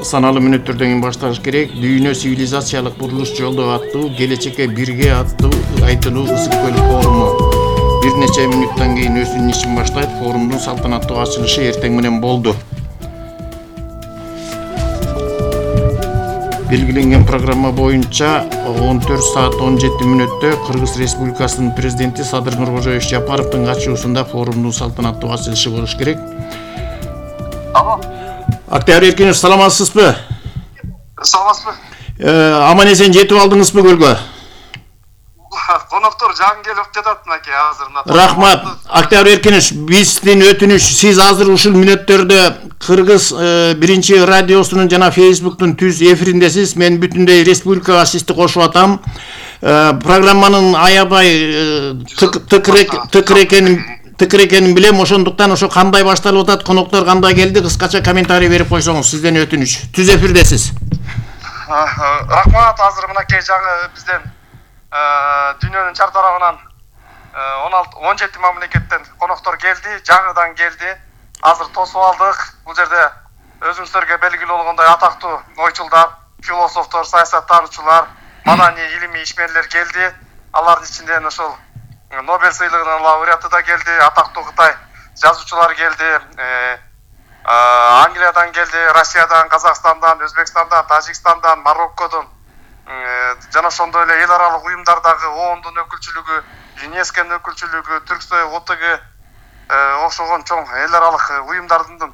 саналуу мүнөттөрдөн кийин башталыш керек. Дүйнө цивилизациялык бурулуш жолдо аттуу келечекке бирге аттуу айтылуу ысык көл форуму бир нече мүнөттөн кийин өзүнүн ишин баштайт. Форумдун салтанаттуу ачылышы эртең менен болду. Белгиленген программа боюнча 14 саат 17 мүнөттө Кыргыз Республикасынын президенти Садыр Нуркожоевич Жапаровдун катышуусунда форумдун салтанаттуу ачылышы болуш керек. Алло. Октябрь Эркинович, саламатсызбы? Саламатсызбы? Аман-эсен жетип алдыңызбы көлгө? Коноктор жаңы келип жатат мынакей азыр. Рахмат. Октябрь Эркинович, биздин өтүнүч, сиз азыр ушул мүнөттөрдө Кыргыз биринчи радиосунун жана Facebook'тун түз эфириндесиз. Мен бүтүндөй республикага сизди кошуп атам. Программанын аябай тыкыр экенин билем. Ошондуктан ошо кандай башталып атат, коноктор кандай келди, кыскача комментарий берип койсоңуз, сизден өтүнүч. Түз эфирдесиз. Рахмат, азыр мынакей жаңы бизден дүйнөнүн чар тарабынан 17 мамлекеттен коноктор келди, жаңыдан келди. Азыр тосуп алдык. Бул жерде өзүңүздөргө белгилүү болгондой атактуу ойчулдар, философтор, саясаттануучулар, маданий илимий ишмерлер келди. Алардын ичинен ошол Нобель сыйлыгынын лауреаты да келди, атактуу Кытай жазуучулар келди. Англиядан келди, Россиядан, Казакстандан, Өзбекстандан, Тажикстандан, Мароккодон жана ошондой эле эл аралык уюмдардагы ООНдун өкүлчүлүгү, ЮНЕСКОнун өкүлчүлүгү, Түрксой, ОТГ окшогон чоң эл аралык уюмдардын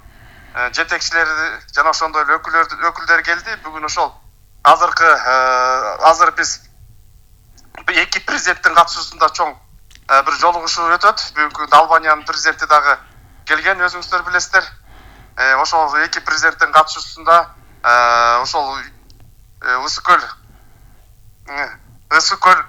жетекчилери жана ошондой эле өкүлдөр келди. Бүгүн ошол азыр биз эки президенттин катышуусунда чоң бир жолугушуу өтөт. Бүгүнкү Албаниянын президенти дагы келген, өзүңүздөр билесиздер. Ошол эки президенттин катышуусунда ошол Ысык көл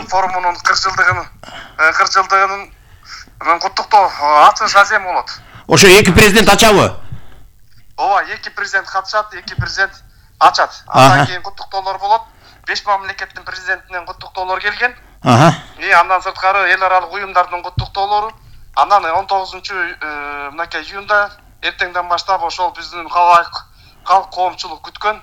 форумунун 40 жылдыгынын куттуктоо ачылыш азем болот. Ошо эки президент ачабы? Ооба, эки президент катышат, эки президент ачат. Андан кийин куттуктоолор болот. 5 мамлекеттин президентинен куттуктоолор келген. Андан сырткары эл аралык уюмдардын куттуктоолору. Андан 19 июнда эртеңден баштап ошол биздин халк коомчулук күткөн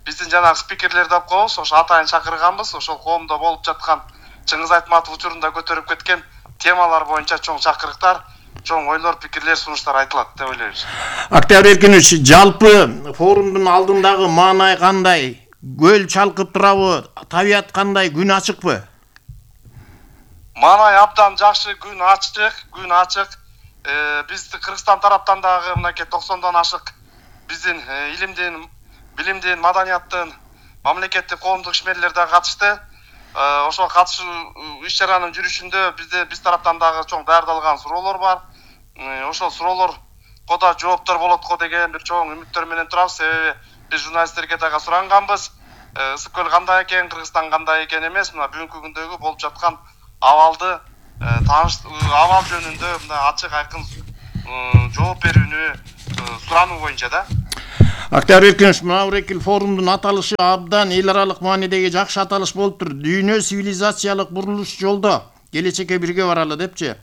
биздин жанагы спикерлерди алып коебуз. Ошо атайын чакырганбыз. Ошол коомдо болуп жаткан Чыңгыз Айтматов учурунда көтөрүп кеткен темалар боюнча чоң чакырыктар, чоң ойлор, пикирлер, сунуштар айтылат деп ойлойбуз. Октябрь Эркинович, жалпы форумдун алдындагы маанай кандай? Көл чалкып турабы? Табият кандай? Күн ачыкпы? Маанай абдан жакшы, күн ачык. Бизди Кыргызстан тараптан дагы мынакей 90дон ашык биздин билимдин, маданияттын, мамлекеттик коомдук ишмерлер да катышты. Ошол катышуу иш-чаранын жүрүшүндө биз тараптан дагы чоң даярдалган суроолор бар. Ошол суроолорго да жооптор болот го деген бир чоң үмүттөр менен турабыз. Себеби биз журналисттерге дагы суранганбыз. Ысык көл кандай экен, Кыргызстан кандай экен эмес, мына бүгүнкү күндөгү болуп жаткан абалды абал жөнүндө мына ачык айкын жооп берүүнү сурануу боюнча да. Октябрь Эркинович, мына Урекил форумдун аталышы абдан эл аралык маанидеги жакшы аталыш болуптур. Дүйнө цивилизациялык бурулуш жолдо келечекке бирге баралы депчи.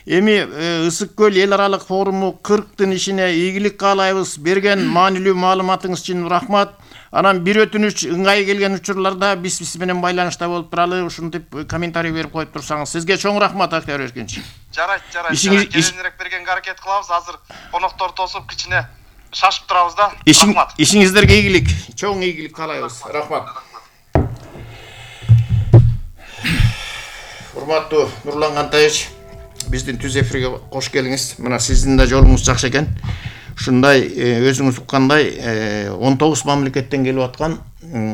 Эми Ысык көл эл аралык форуму 40тын ишине ийгилик каалайбыз. Берген маанилүү маалыматыңыз үчүн рахмат. Анан бир өтүнүч, ыңгай келген учурларда биз менен байланышта болуп туралы, ушинтип комментарий берип коюп турсаңыз. Сизге чоң рахмат, Октябрь Эркинович. Жарайт. Кийинирээк бергенге аракет кылабыз. Азыр конокторду тосуп кичине шашып турабыз да. Рахмат. Ишиңиздерге ийгилик, чоң ийгилик каалайбыз. Рахмат. Урматтуу Нурлан Кантаевич, биздин түз эфирге кош келиңиз. Мына сиздин да жолуңуз жакшы экен. Ушундай өзүңүз уккандай 19 мамлекеттен келип аткан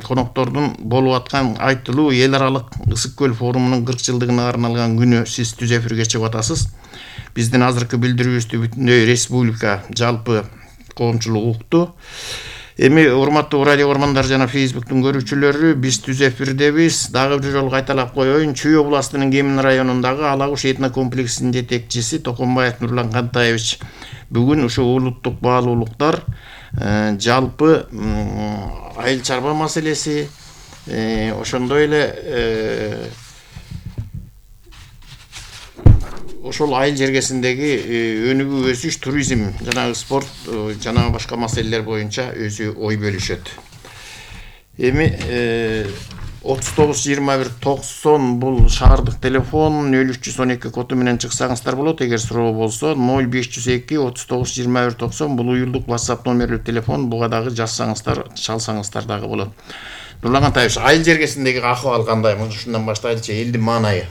коноктордун болуп аткан айтылуу эл аралык Ысык көл форумунун 40 жылдыгына арналган күнү сиз түз эфирге чыгып атасыз. Биздин азыркы билдирүүбүздү бүтүндөй республика жалпы коомчулук укту. Эми урматтуу радио көрмандар жана Facebook'тун көрүүчүлөрү, биз түз эфирдебиз. Дагы бир жолу кайталап коеюн. Чүй областынын Кемин районундагы Алагуш этно комплексинин жетекчиси Токонбаев Нурлан Кантаевич бүгүн ушу улуттук баалуулуктар жалпы айыл чарба маселеси, ошондой эле ошол айыл жергесиндеги өнүгүү өсүш, туризм, жанагы спорт, жана башка маселелер боюнча өзү ой бөлүшөт. Эми 39-21-90 бул шаардык телефон, 0312 коду менен чыксаңыздар болот. Эгер суроо болсо 0502-39-21-90 бул уюлдук WhatsApp номерлүү телефон. Буга дагы жазсаңыздар, чалсаңыздар дагы болот. Нурлан Кантаевич, айыл жергесиндеги акыбал кандай? Ушундан баштайлычы, элдин маанайы.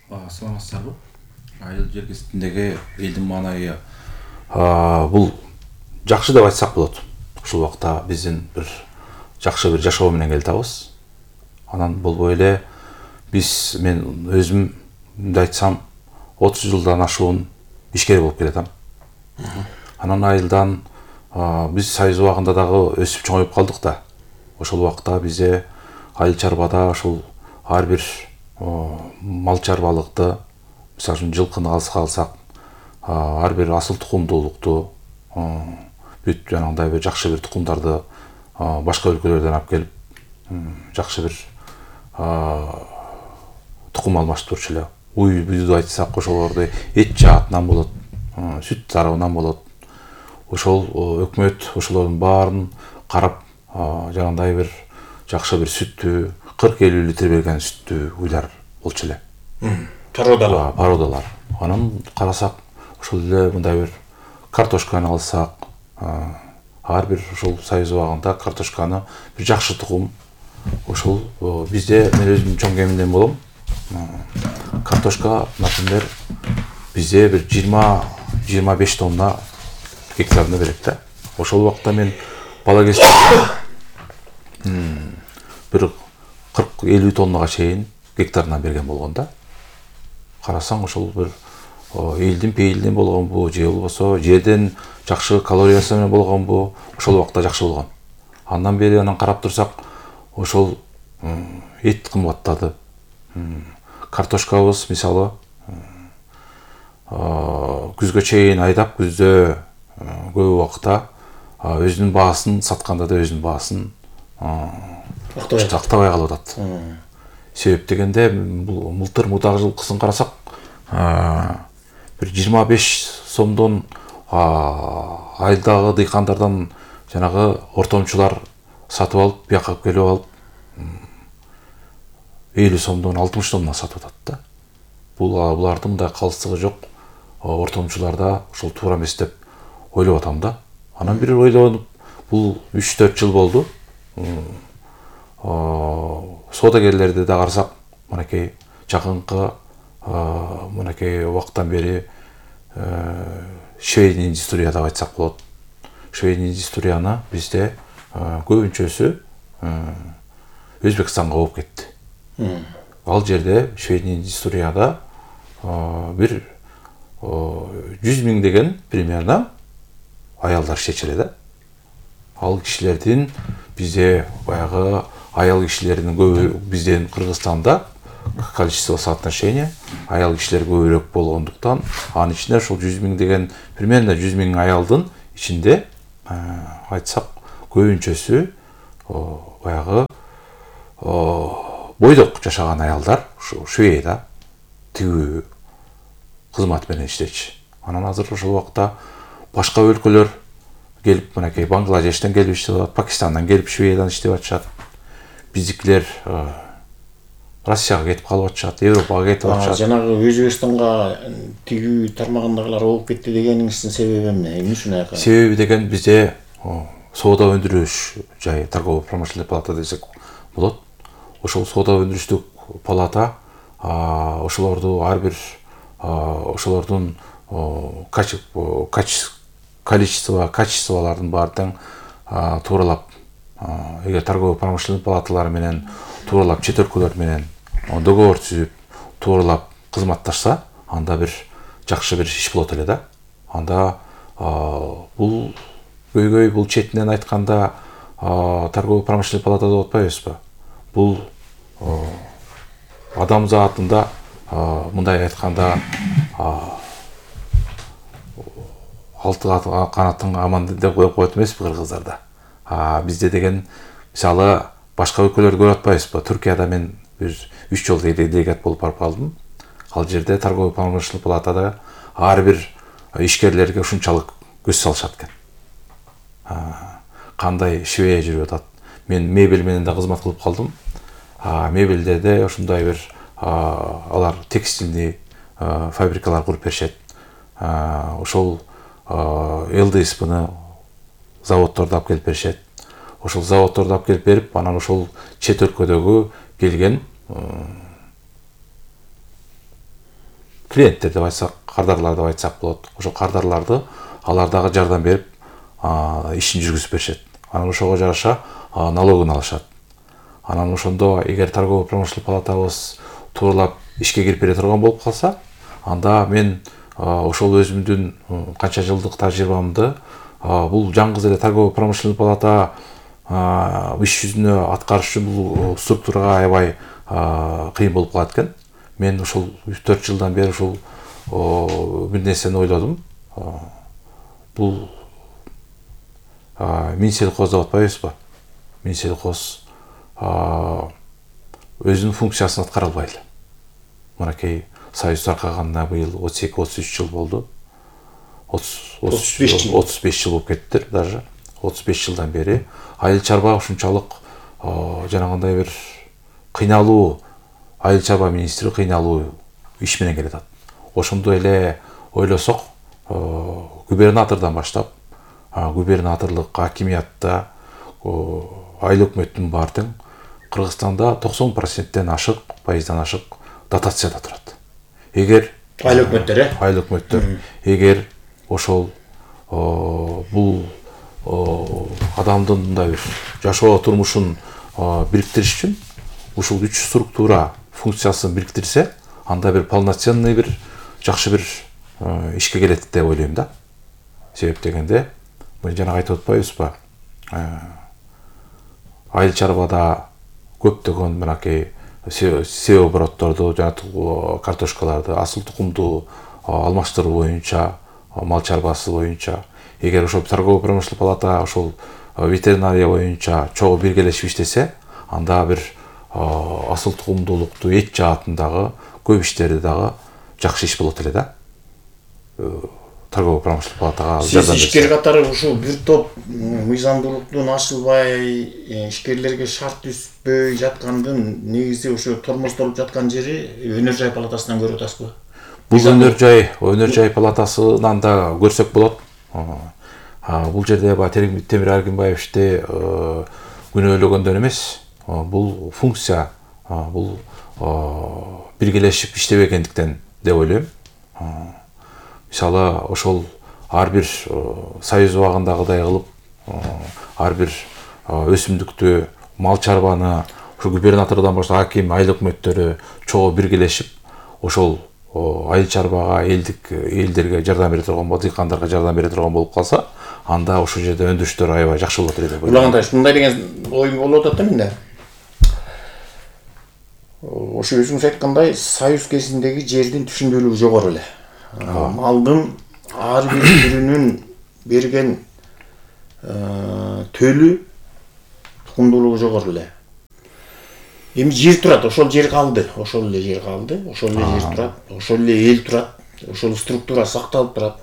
Саламатсыздарбы? Айыл жергесиндеги элдин маанайы бул жакшы деп айтсак болот. Ушул убакта биздин бир жакшы бир жашоо менен келатабыз. Анан болбой эле мен өзүм мындай айтсам 30 жылдан ашуун ишкер болуп келатам. Анан айылдан биз союз убагында дагы өсүп чоңоюп калдык да. Ошол убакта бизде айыл чарбада ошол ар бир мал чарбалыкты, мисалы үчүн жылкыны алсак, ар бир асыл тукумдуулукту, бүт жанагындай бир жакшы бир тукумдарды башка өлкөлөрдөн алып келип, жакшы бир тукум алмаштып турчу эле. Уй бүйдү айтсак, ошолорду эт жаатынан болот, сүт тарабынан болот. Ошол өкмөт ошолордун баарын карап, жанагындай бир жакшы бир сүттү, 40-50 литр берген сүттү уйлар болчу эле. Породалар. Анан карасак, ошол эле мындай бир картошканы алсак, ар бир ошол союз убагында картошканы бир жакшы тукум. Ошол бизде мен өзүм чоң кеминден болом. Картошка, например, бизде бир 20-25 тонна гектарына берет да. Ошол убакта мен бала кезде бир 40-50 тоннага чейин гектарынан берген болгон да. Карасаң ошол бир элдин пейилден болгонбу, же болбосо жерден жакшы калориясы менен болгонбу, ошол убакта жакшы болгон. Андан бери карап турсак, ошол эт кымбаттады. Картошкабыз мисалы күзгө чейин айдап, күздө көп убакта өзүнүн баасын сатканда да өзүнүн баасын актабай калып атат. Себеп дегенде бул мылтыр мудак жылкысын карасак, бир 25 сомдон айылдагы дыйкандардан жанагы ортомчулар сатып алып, бияка келип алып 50 сомдон 60 сомдон сатып атат да. Булардын мындай калыстыгы жок. Ортомчуларда ошол туура эмес деп ойлоп атам да. Анан бир ойлонуп, бул 3-4 жыл болду. Соодагерлерди да карасак, мынакей жакынкы мынакей убактан бери швейный индустрия деп айтсак болот. Швейный индустрияны бизде көбүнчөсү Өзбекстанга болуп кетти. Ал жерде швейный индустрияда бир 100 миң деген примерно аялдар иштечү да. Ал кишилердин бизде баягы аял кишилердин көбү бизден Кыргызстанда количество соотношения аял кишилер көбүрөөк болгондуктан, анын ичинде ошол 100 миң деген примерно 100 миң аялдын ичинде айтсак көбүнчөсү баягы бойдок жашаган аялдар швейда тигүү кызмат менен иштечи. Анан азыр ошол убакта башка өлкөлөр келип, мынакей Бангладештен келип иштеп атат, Пакистандан келип швейдан иштеп атышат. Биздикилер Россияга кетип калып атышат, Европага кетип атышат. Жанагы Өзбекстанга тигүү тармагындагылар болуп кетти дегениңиздин себеби эмне? Эмне үчүн аяка? Себеби деген бизде соода өндүрүш жай торгово-промышленный палата десек болот. Ошол соода өндүрүштүк палата ошолорду ар бир ошолордун качестволордун баардыгын тууралап, эгер торгово-промышленный палаталар менен тууралап, чет өлкөлөр менен договор түзүп, тууралап кызматташса, анда бир жакшы бир иш болот эле да. Анда бул көйгөй, бул четинен айтканда торгово-промышленный палатада болуп атпайбызбы? Бул адам заатында мындай айтканда алты канатын аман деп коет эмеспи кыргыздарда. Бизде деген мисалы башка өлкөлөрдү көрүп атпайбызбы? Түркияда мен бир 3 жолу делегат болуп барып калдым. Ал жерде торговый промышленный палатада ар бир ишкерлерге ушунчалык көз салышат экен. Кандай швея жүрүп атат. Мен мебель менен да кызмат кылып калдым. Мебелдерде ушундай бир алар текстильный фабрикалар куруп беришет. Ошол ЛДСПны заводдорду алып келип беришет. Ошол заводдорду алып келип берип, анан ошол чет өлкөдөгү келген клиенттер деп айтсак, кардарлар деп айтсак болот. Ошол кардарларды алар дагы жардам берип, ишин жүргүзүп беришет. Анан ошого жараша налогун алышат. Анан ошондо эгер торговый промышленный палатабыз тууралап ишке кирип бере турган болуп калса, анда мен ошол өзүмдүн канча жылдык тажрыйбамды бул жалгыз эле торговый промышленный палата иш жүзүнө аткарыш үчүн бул структурага аябай кыйын болуп калат экен. Мен ушул 4 жылдан бери ушул бир нерсени ойлодум. Бул Минсельхоз деп атпайбызбы? Минсельхоз өзүнүн функциясын аткара албай эле. Мынакей Союз таркаганына быйыл 32-33 жыл болду. 35 жыл болуп кеттир даже. 35 жылдан бери айыл чарба ушунчалык жанагындай бир кыйналуу, айыл чарба министри кыйналуу иш менен келатат. Ошондой эле ойлосок, губернатордон баштап, губернаторлук хакимиятта айыл өкмөттүн бар тең Кыргызстанда 90%-тен ашык, пайыздан ашык дотацияда турат. Эгер айыл өкмөттөр, эгер ошол бул адамдын мындай бир жашоо турмушун бириктириш үчүн ушул 3 структура функциясын бириктирсе, анда бир полноценный бир жакшы бир ишке келет деп ойлойм да. Себеп дегенде, мен жана айтып атпайбызбы? Айыл чарбада көптөгөн мынакей оборотторду, жана картошкаларды, асыл тукумду алмаштыруу боюнча, мал чарбасы боюнча, эгер ошол торговый промышленный палата ошол ветеринария боюнча чогуу биргелешип иштесе, анда бир асыл тукумдуулукту эт жаатындагы көп иштерди дагы жакшы иш болот эле да. Торговый промышленный палатага жардам берсе. Ишкер катары ушул бир топ мыйзамдуулуктун ашылбай, ишкерлерге шарт түзбөй жаткандын негизи ошо тормоздолуп жаткан жери өнөр жай палатасынан көрүп атасызбы? Бул өнөр жай палатасынан да көрсөк болот. Бул жерде Темир Аргимбаевичти күнөөлөгөндөн эмес, бул функция, бул биргелешип иштебегендиктен деп ойлойм. Мисалы, ошол ар бир союз убагындагыдай кылып, ар бир өсүмдүктү, мал чарбаны, ошо губернатордон баштап хаким, айыл өкмөттөрү чогуу биргелешип, ошол айыл чарбага, элдерге жардам бере турган, дыйкандарга жардам бере турган болуп калса, анда ошол жерде өндүрүштөр аябай жакшы болот эле деп ойлойм. Улагандай мындай деген ой болуп атат да менде. Ошо өзүңүз айткандай, союз кезиндеги жердин түшүндүүлүгү жогору эле. Малдын ар бир түрүнүн берген төлү, тукумдуулугу жогору эле. Эми жер турат, ошол жер калды, ошол эле жер турат, ошол эле эл турат, ошол структура сакталып турат.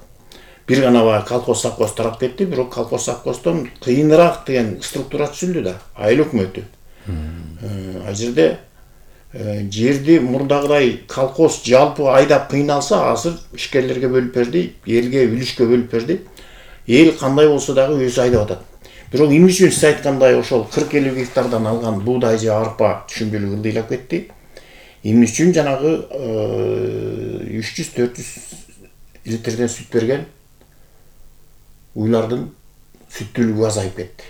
Бир гана баягы колхоз совхоз тарап кетти, бирок колхоз совхоздон кыйыныраак деген структура түзүлдү да, айыл өкмөтү. Ал жерде жерди мурдагыдай колхоз жалпы айдап кыйналса, азыр ишкерлерге бөлүп берди, элге үлүшкө бөлүп берди. Эл кандай болсо дагы өзү айдап атат. Бирок эмне үчүн сиз айткандай ошол 40-50 гектардан алган буудай же арпа түшүнбөлүгү ылдыйлап кетти? Эмне үчүн жанагы 300-400 литрден сүт берген уйлардын сүттүүлүгү азайып кетти.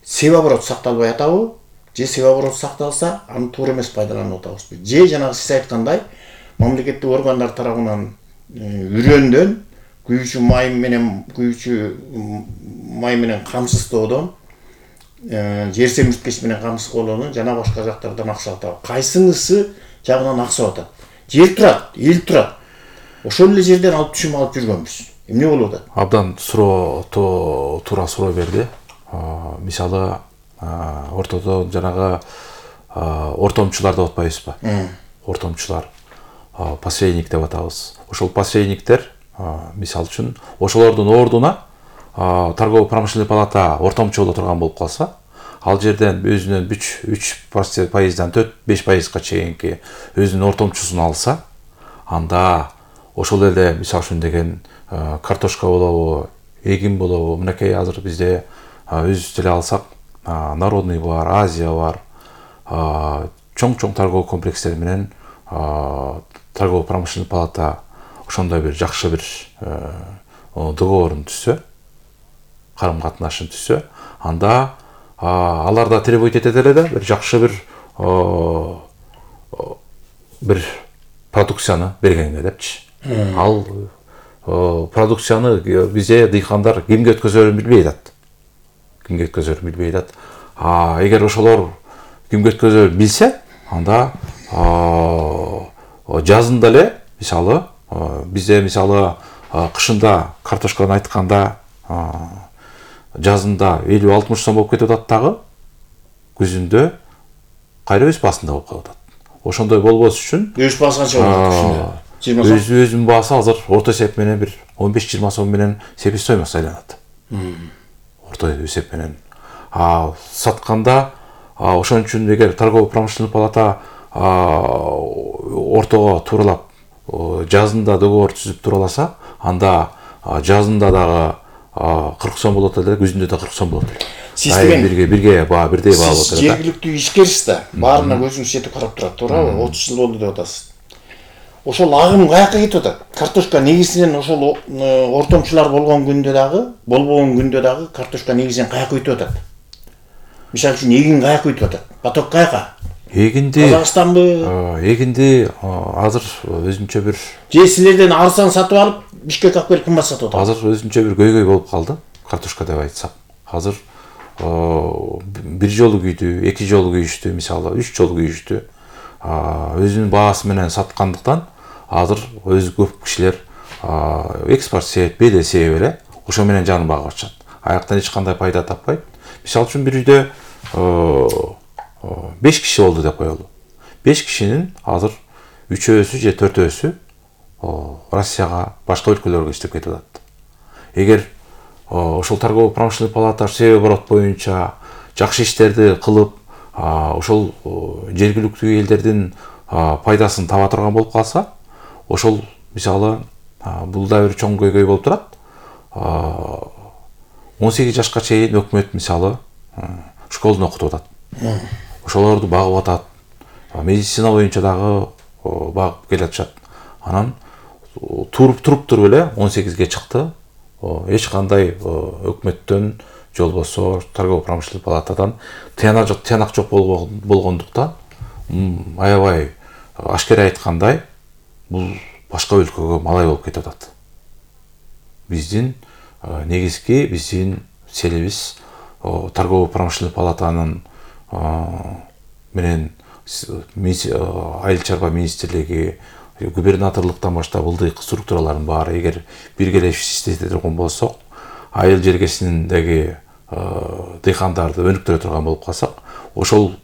Себоборот сакталбай атабы? Же себоборот сакталса, аны туура эмес пайдаланып атабызбы? Же жанагы сиз айткандай мамлекеттик органдар тарабынан үрөндөн күйүүчү май менен камсыздоодон, жер семирткеч менен камсыздоодон жана башка жактардан акча алат. Кайсынысы жагынан акча атат? Жер турат, эл турат. Ошол эле жерден алып түшүм алып жүргөнбүз. Эмне болуп атат? Абдан туура суроо берди. Мисалы, ортодо жанагы ортомчулар деп атпайбызбы? Ортомчулар. посредник деп атабыз. Ошол посредниктер мисал үчүн ошолордун ордуна торгово-промышленный палата ортомчу боло турган болуп калса, ал жерден өзүнүн 3%-дан 4-5%га чейинки өзүнүн ортомчусун алса, анда ошол эле мисал үчүн деген картошка болобу, эгин болобу, мынакей азыр бизде өзүбүз деле алсак, Народный бар, Азия бар, чоң-чоң торговый комплекстер менен торгово-промышленный палата ошондой бир жакшы бир договорун түзсө, карым-катнашын түзсө, анда алар да требовать этет эле да, бир жакшы бир продукцияны бергенге депчи. Ал продукцияны бизде дыйкандар кимге өткөзөрүн билбей атат. Эгер ошолор кимге өткөзөрүн билсе, анда жазында эле мисалы бизде мисалы кышында картошканы айтканда жазында 50-60 сом болуп кетип атат дагы, күзүндө кайра өз баасында болуп калып атат. Ошондой болбос үчүн өз баасы канча болот? 20 сом. Өзүнүн баасы азыр орто эсеп менен бир 15-20 сом менен себестоимость айланат. Орто эсеп менен. Сатканда ошон үчүн эгер торгово-промышленный палата ортого тууралап жазында договор түзүп тураласа, анда жазында дагы 40 сом болот эле, күзүндө да 40 сом болот эле. Сиз деген бирдей баа болот эле. Сиз жергиликтүү ишкерсиз да, баарына көзүңүз жетип карап турат, туурабы? 30 жыл болду деп атасыз. Ошол агым каяка кетип атат? Картошка негизинен ошол ортомчулар болгон күндө дагы, болбогон күндө дагы картошка негизинен каяка өтүп атат? Мисалы үчүн эгин каяка өтүп атат? Поток каяка? Эгинди Казакстанбы? Эгинди азыр өзүнчө бир же силерден арзан сатып алып, Бишкек алып келип кымбат сатып атат? Азыр өзүнчө бир көйгөй болуп калды, картошка деп айтсак. Азыр бир жолу күйдү, 2 жолу күйүштү, мисалы 3 жолу күйүштү. Өзүнүн баасы менен саткандыктан азыр өз көп кишилер экспорт себеп, беле себеп эле ошо менен жанын багып атышат. Аяктан эч кандай пайда таппайт. Мисалы үчүн бир үйдө 5 киши болду деп коелу. 5 кишинин азыр 3-өсү же 4-өсү Россияга, башка өлкөлөргө иштеп кетип атат. Эгер ошол торгово-промышленный палата себеп оборот боюнча жакшы иштерди кылып, ошол жергиликтүү элдердин пайдасын таба турган болуп калса, ошол мисалы бул да бир чоң көйгөй болуп турат. 18 жашка чейин өкмөт мисалы школдун окутуп атат. Ошолорду багып атат. Медицина боюнча дагы багып келатышат. Анан туруп эле 18ге чыкты. Эч кандай өкмөттөн же болбосо торгово-промышленный палатадан тыянак жок болгондуктан, аябай ашкера айткандай, бул башка өлкөгө малай болуп кетип атат. Биздин негизги биздин селебиз торгово-промышленный палатанын менен айыл чарба министрлиги, губернаторлуктан баштап ылдыйкы структуралардын баары эгер биргелешип иштете турган болсок, айыл жергесиндеги дыйкандарды өнүктүрө турган болуп калсак, ошол